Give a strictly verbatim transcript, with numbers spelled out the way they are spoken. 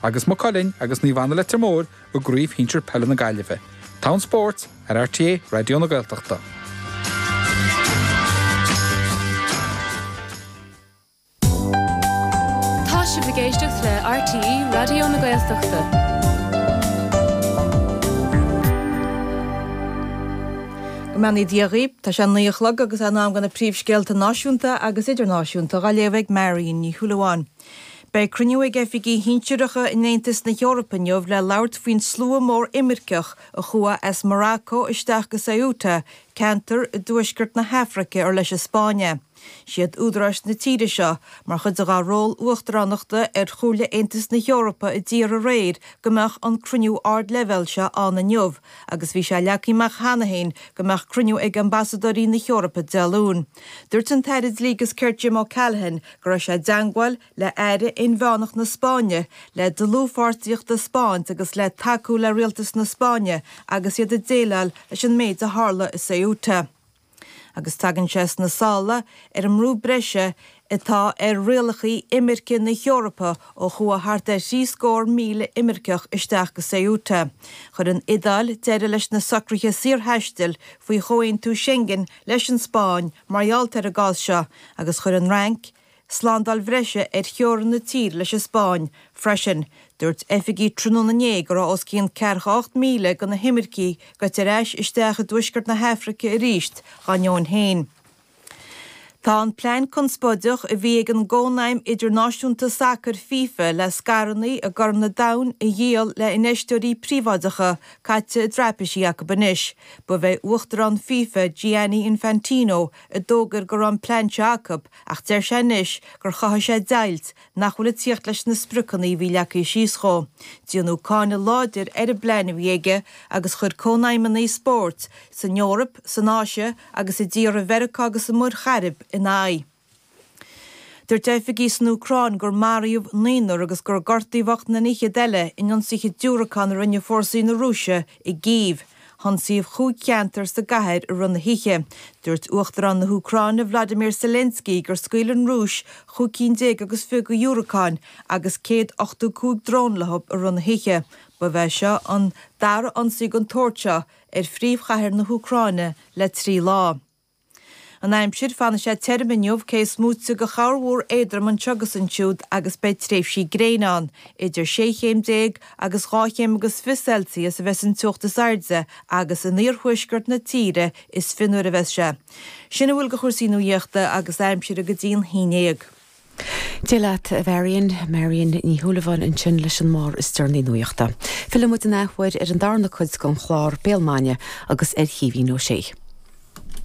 agus Maigh Cuilinn agus Naomh Anna Leitir Móir i gCraobh Shinsir Peile na Gaillimhe. Togha an Spóirt ar RTÉ Raidió na Gaeltachta. Tá sibh ag éisteacht le RTÉ Raidió na Gaeltachta. Go mbeannaí Dia dhaoibh, tá sé naoi a chlog agus in am do na príomhscéalta náisiúnta agus idirnáisiúnta á léamh ag Marion Ní Shúilleabháin. Beidh cruinniú ag oifigigh shinsearacha in Aontas na hEorpa inniu le labhairt faoin slua mór imirceach a chuaigh as Morocco isteach go Ceuta, ceantar i dtuaisceart na hAfraice ar leis an Spáinn é. Siad údaráis na tíre seo, mar chuid de dhá ról uachtaránachta ar Chomhairle Aontas na hEorpa a d'iarr aréir go mbeadh an cruinniú ardleibhéil seo ann inniu agus bhí sé leagtha amach cheana féin go mbeadh cruinniú ag ambasadóirí na hEorpa Dé Luain. Dúirt an tAire Dlí agus Cirt Jim O'Callaghan go raibh sé i dteangmháil le Aire Inmheánach na Spáinne le dlúthpháirtíocht a 'spáint agus le tacú le rialtas na Spáinne agus iad ag déileáil leis an méid a tharla i Ceuta. Agus tagann sé sna sála ar an mbrú breise atá ar rialacha imirce na hEorpa ó chuaigh thart ar thrí scór míle imirceach isteach go Ceuta. Chuir an Iodáil deireadh leis na socruithe saorthaistil faoi Chomhaontú Schengen leis an Spáinn mar gheall ar an gcás seo agus chuir an Fhrainc slándáil bhreise ar theorainn na tíre leis an Spáinn freisin. Dúirt oifigigh tráthnóna inné go raibh os cionn ceathracha ocht míle de na himircigh gaibhte ar ais isteach i dtuaisceart na hAfraice arís dá ndeoin féin. Tá an plean conspóideach a bhí ag an gCónaidhm Idirnáisiúnta Sacair, FIFA, le scaireanna i gCorn an Domhain a dhíol le infheisteoirí príobháideacha caite i dtraipisí acu anois. Ba é Uachtarán FIFA, Gianni Infantino, a d'fhógair go raibh an plean seo acu ach deir sé anois gur chothaigh sé deighilt nach bhfuil ag tíocht leis na spriocanna a bhí leagtha síos dhó. Déanadh cáineadh láidir ar an bplean a bhí aige agus chuir cónaidhmeanna spóirt san Eoraip, san Áise agus i dtíortha Mheiriceá agus i Muir Chairib ina aghaidh. Dúirt oifigigh san Úcráin gur maraíodh naonúr agus gur gortaíodh ocht nduine fhichead eile in ionsaithe diúracán a rinne fórsaí na Rúise i gCív. Hionsaíodh chúig cheantar sa gcathair i rith na hoíche. Dúirt Uachtarán na hÚcráine Vladimir Zelensky gur scaoil an Rúis chúig cinn déag agus fiche de dhiúracáin agus céad ochtó cúig drón leo i rith na hoíche. Ba é seo an dara ionsaí den tsórt seo ar phríomhchathair na hÚcráine le trí lá. An aimsir, Fanfaidh sé tirim inniu, cé is móite de chorrmhúr éadrom anseo agus ansiúd agus beidh tréimhsí gréine ann. Idir sé chéim déag agus dhá chéim agus fiche Celsius a bheas an teocht is airde agus in iarthuaisceart na tíre is fionnuaire a bheas sé. Sin a bhfuil de chúrsaí nuachta agus aimsire go dtí an haon déag. Dia leat, a Mharion, Marion Ní Shúilleabháin ansin leis an mbarr is deireanaí nuachta. Fillfidh muid an athuair ar an darna cuid den chlár Béal Maidine agus ar Chaoimhín Ó Sé.